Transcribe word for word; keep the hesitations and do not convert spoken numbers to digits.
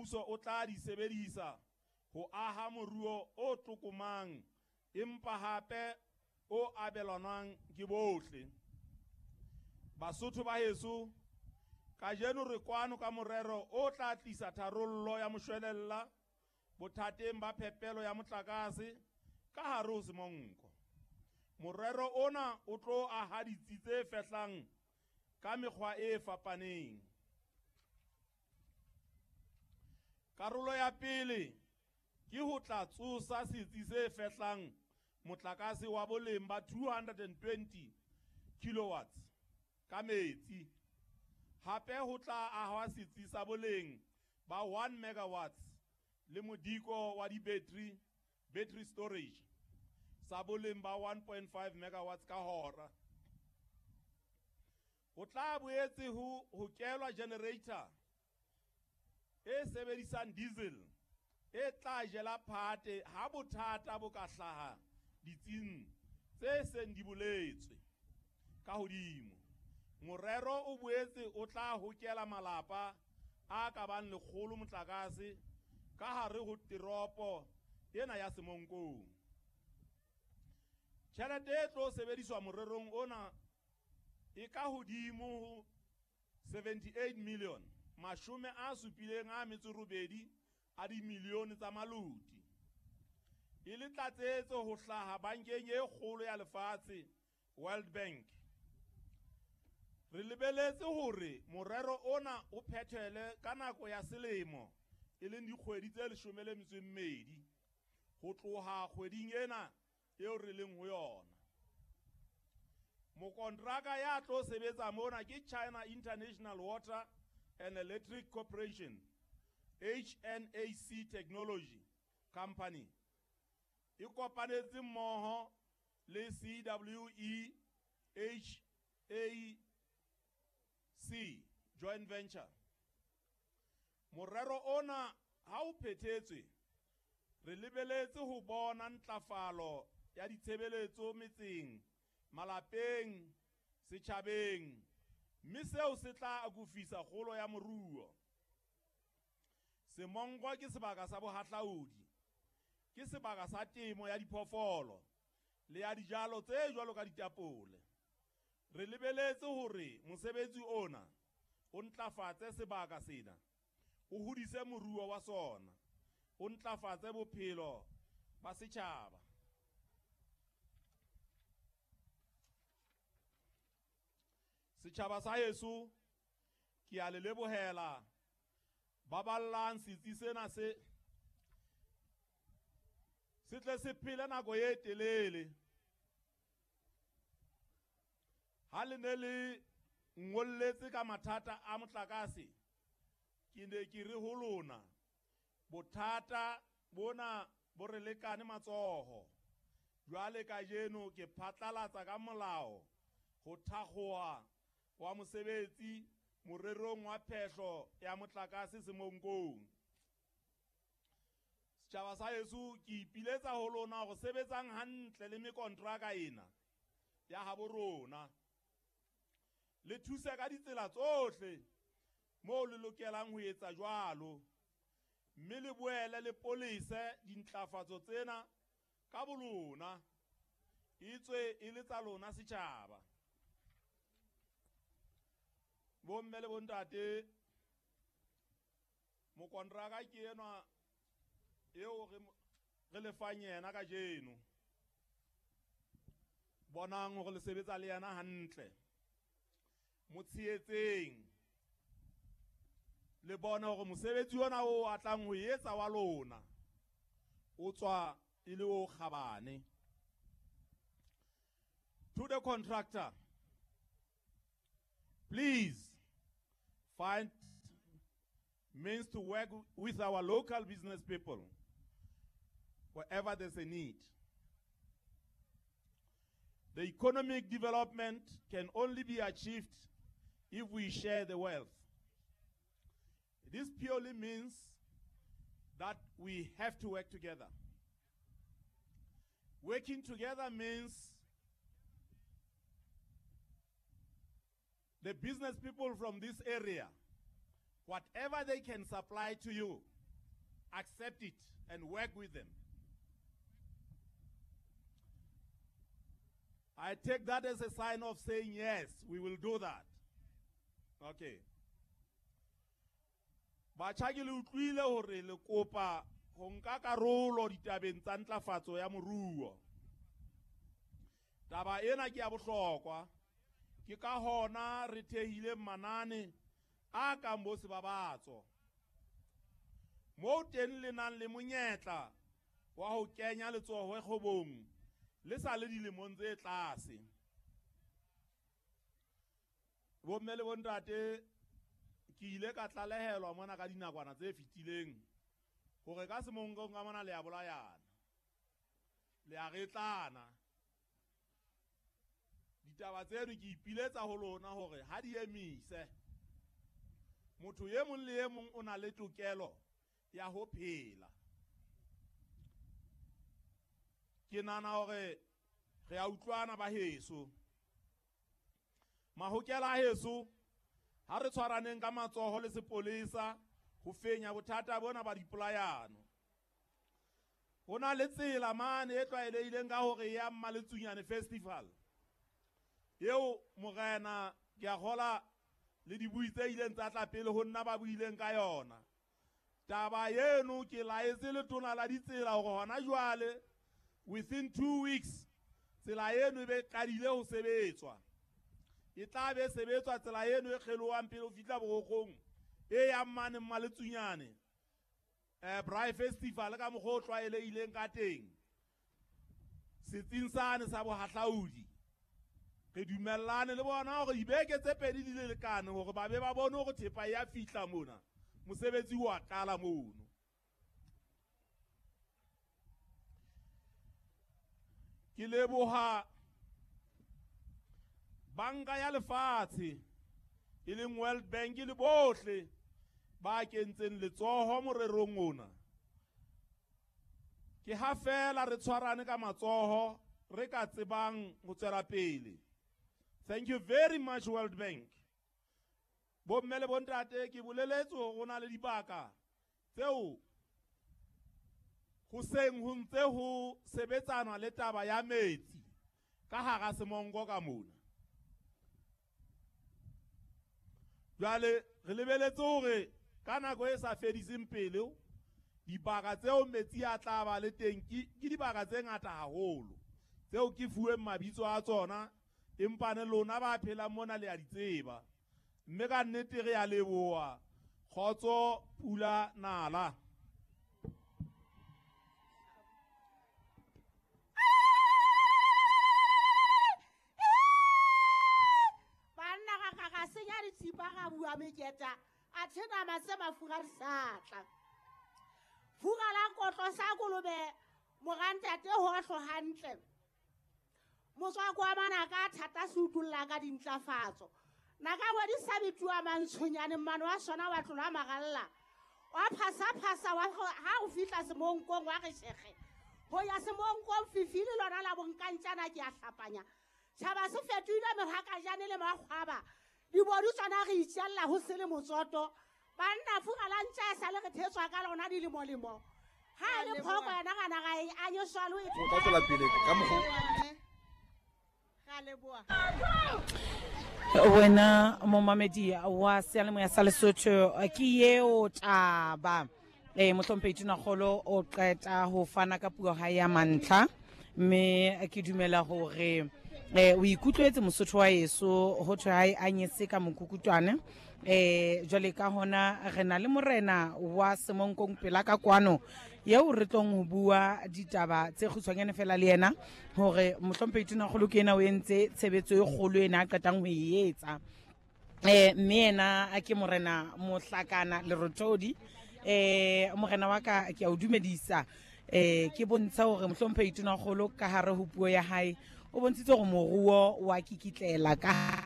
mmuso o tla di sebedisa ho aha moruo o tlokomang empa hape o abelanwang ke bohle. Basotho ba heso, kajeno re kwano ka morero o tla tlisa tharollo ya moshwelella bothateng ba phepelo ya motlakase ka hare ho Semonko. Morero ona o tlo aha ditsi tse fehlang ka mekgwa e fapaneng. Karolo ya pele ke ho tla tsosa setsi se fehlang motlakase wa boleng ba two hundred and twenty kilowatts ka metsi. Hape ho tla ahwa setsi sa boleng ba one megawatts le modiko wa di-battery, battery storage sa boleng ba one point five megawatts ka hora. Ho tla boetse ho hokelwa generator e sebedisang diesel e tla jela phate ha bothata bo ka hlaha ditsing tse seng di boletswe ka hodimo. Morero o boetse o tla hokela malapa a ka bang lekgolo motlakase ka hare ho teropo ena ya Semonkong. Tjhelete e tlo sebediswa morerong ona e ka hodimo ho seventy-eight million, mashome a supileng a metso robedi a dimilione tsa maloti. E le tlatsetso ho hlaha bankeng e kgolo ya lefatshe, World Bank. Re lebeletse hore morero ona o phethele ka nako ya selemo e leng dikgwedi tse leshome le metso e mmedi ho tloha kgweding ena eo re leng ho yona. Mokontraka ya tlo sebetsa mona ke China International Water and Electric Corporation, H N A C Technology Company. E kopanetse mmoho le C W E H A C joint venture. Morero ona ha o phethetswe, re lebeletse ho bona ntlafalo ya ditshebeletso metseng, malapeng, setjhabeng, mme seo se tla akofisa kgolo ya moruo. Semonko ke sebaka sa bohahlaudi, ke sebaka sa temo ya diphoofolo le ya dijalo tse jwalo ka ditapole. Re lebeletse hore mosebetsi ona o ntlafatse sebaka sena, o hodise moruo wa sona, o ntlafatse bophelo ba setjhaba. Setjhaba sa heso, ke a le lebohela. Baballang setsi sena se se tle se phele nako e telele. Ha le ne le ngolletse ka mathata a motlakase, ke ne ke re ho lona bothata bona bo re lekane matsoho. Jwale kajeno ke phatlalatsa ka molao ho thakgoha wa mosebetsi morerong wa phehlo ya motlakase Semonkong. Setjhaba sa heso, ke ipiletsa ho lona hore sebetsang hantle le mekontraka ena ya habo rona. Le thuse ka ditsela tsohle moo le lokelang ho etsa jwalo, mme le boele le polise dintlafatso tsena ka bolona, etswe e le tsa lona setjhaba. Bomme le bontate, mokontraka ke enwa eo re, re lefang yena kajeno. Bonang hore le sebetsa le yena hantle, mo tshehetseng, le bone hore mosebetsi ona o a tlang ho etsa wa lona o tswa e le o kgabane. To the contractor, please find means to work with our local business people wherever there's a need. The economic development can only be achieved if we share the wealth. This purely means that we have to work together. Working together means the business people from this area, whatever they can supply to you, accept it and work with them. I take that as a sign of saying yes, we will do that. Okay. Batjha ke le utlwile hore le kopa ho nka karolo ditabeng tsa ntlafatso ya moruo. Taba ena ke ya bohlokwa. Ke ka hona re thehile manane a kang bo Sebabatso. Moo teng le nang le monyetla wa ho kenya letsoho kgwebong le sa le dilemong tse tlase. Bomme le bontate, ke ile ka tlalehelwa mona ka dinakwana tse fetileng hore ka Semonkong ka mona le a bolayana, le a retlana. Ditaba tseno ke ipiletsa ho lona hore ha di emise. Motho e mong le e mong o na le tokelo ya ho phela. Ke nahana hore re a utlwana ba heso. Mahokela a heso, ha re tshwaraneng ka matsoho le sepolesa ho fenya bothata bona ba dipolayano. Ho na le tsela mane e tlwaelehileng ka hore ya Mmaletsunyane Festival. Eo morena ke a kgola le dibui tse ileng tsa tla pele ho nna ba buileng ka yona. Taba eno ke laetse letona la ditsela hore hona jwale within two weeks tsela eno e be qadile ho sebetswa. E tla be sebetswa tsela eno e kgelohang pele ho fihla Borokgong e yang mane Mmaletsunyane. Eh Braai Festival ka mokgwa o tlwaelehileng ka teng. Setsing sane sa bohahlaudi. Re dumellane le bona hore dibeke tse pedi di le lekane hore ba be ba bone hore thepa ya fihla mona. Mosebetsi wa qala mono. Ke leboha Banka ya Lefatshe e leng World Bank le bohle ba kentseng letsoho morerong ona. Ke ha fela re tshwarane ka matsoho re ka tsebang ho tswela pele. Thank you very much, World Bank. Bomme le bontate, ke boleletse hore ho na le dibaka tseo ho seng ho ntse ho sebetsanwa le taba ya metsi ka hara Semonko ka mona. Jwale re lebeletse hore ka nako e sa fediseng pele dibaka tseo metsi a tla ba le teng ke dibaka tse ngata haholo tseo ke fuweng mabitso a tsona, empa ne lona ba phelang mona le a di tseba. Mme ka nnete re a leboha. Kgotso pula nala. Banna ga ga senya ditsipa ga bua meketa a thena matse mafura re sa tla. Fura la kotlo sa kolobe morantate ho hlo hantle. Motswako wa manaka thata se utulla ka dintlafatso. Naka ngwe di sa bituwa mantshonyane mmano wa sona wa tlola maralla. Wa phasa phasa wa ha o fihla Semonkong wa re shekge. Ho ya Semonkong fifile lona la bonkantjana ke a hlapanya. Tjhaba se fetohile mehakajane le makgwaba. Dibodu tsona re itjella ho se le motsoto. Banna fura la ntja sa le re thetswa ka lona dilemolemo. Ha e le phoko yena kana ga e anyoswa le e. O ka tswela pele ka mokgwa. Wena momamedi wa seyalemoya sa Lesotho ke eo taba eh mohlomphehi Tonakgolo o qeta ho fana ka puo ha ya mantlha, mme ke dumela hore eh o ikutlwetse Mosotho wa heso ho thwe ha e anyese ka mokukutwane. Eh jwale ka hona re na le morena wa Semonkong pela ka kwano eo re tlong ho bua ditaba tse kgutshwanyane fela le yena hore mohlomphehi Tonakgolo ke yena o entse tshebetso e kgolo ena a qetang ho e etsa. Eh mme yena ke morena Mohlakana Lerothodi. Eh morena wa ka ke a o dumedisa. Eh ke bontsha hore mohlomphehi Tonakgolo ka hare ho puo ya hae o bontshitse hore moruo wa kikitlela ka